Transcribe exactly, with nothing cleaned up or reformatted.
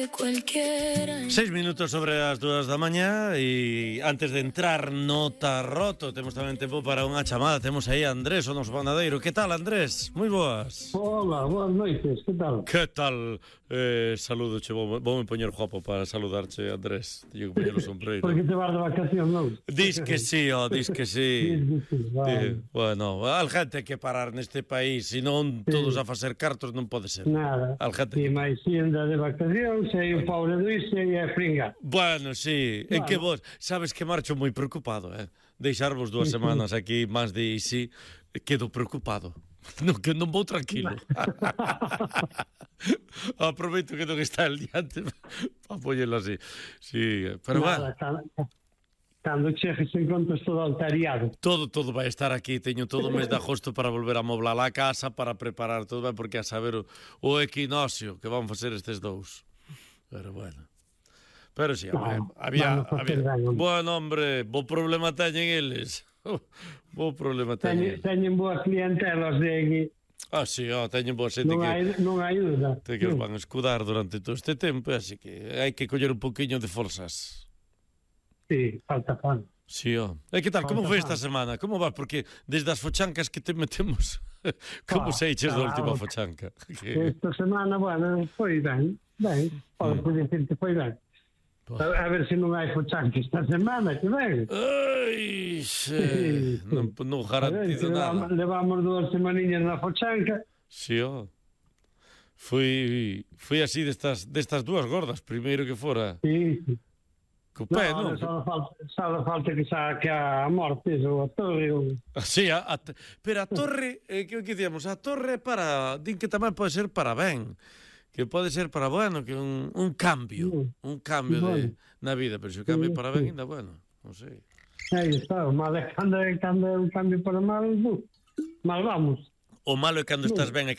de cualquiera. Seis minutos sobre as dúas da mañá e antes de entrar no tarroto temos tamén tempo para unha chamada. Temos aí a Andrés, o noso panadeiro. Que tal, Andrés? Moi boas. Hola, boas noites, que tal? Que tal? Eh, saludo, che, vou, vou me poñer guapo para saludarche, Andrés. Teño que poñer o sombreiro. Porque te vas de vacación, non? Dis que sí, oh, dis que sí. Dis que sí, vale. Di, bueno, al gente hai que parar neste país, senón Sí. todos a facer cartos non pode ser. Nada. Al gente E que... máis xenda de vacacións, e o pobre Luis e a fringa. Bueno, sí, en Bueno. que vos, sabes que marcho moi preocupado, eh? Deixarvos dúas semanas aquí máis de sí, quedo preocupado. Non, que non vou tranquilo. Aproveito que non está el diante para poñelo así. Sí, pero Nada, bueno, cando, cando chejes encontras todo altariado. todo, todo vai estar aquí. Teño todo o mes de agosto para volver a moblar a casa, para preparar todo, ben, porque a saber o, o equinoccio que van facer estes dous. Pero bueno. Pero si, sí, No, había, vamos a había, hacer daño. bueno, hombre, bo problema teñen eles. Bo problema teñen. Teñen, teñen boa clientela os de aquí. Ah, si, sí, oh, teñen boa xente Non que, hai, non hai duda. te que os van a escudar durante todo este tempo, así que hai que coller un poquinho de forzas. Sí, falta fan. Si, sí, oh. E que tal, como Falta foi fan. esta semana? Como vas? Porque desde as fochancas que te metemos, como Ah, seiches da ah, última ok. fochanca? Que... Esta semana, bueno, foi ben. Ben, pode Mm. dicir que foi ben. A, a ver se non hai fochanque esta semana, que ben. Ai, xe, non, non garantizo levamos, nada. levamos dúas semaniñas na fochanca. Si, oh. Fui, fui así destas, destas dúas gordas, primeiro que fora Sí, sí. co pé, No, non? só falta, só falta que saque a morte ou a torre ou... Sí, a, a, pero a torre, eh, que, que dicíamos, a torre para, din que tamén pode ser para ben, que pode ser para bueno, que un, un cambio, un cambio de, na vida, pero se o cambio para ben, ainda bueno, non sei. Aí está, o mal é cando é, cando é un cambio para mal, bu, mal vamos. O malo é cando estás ben e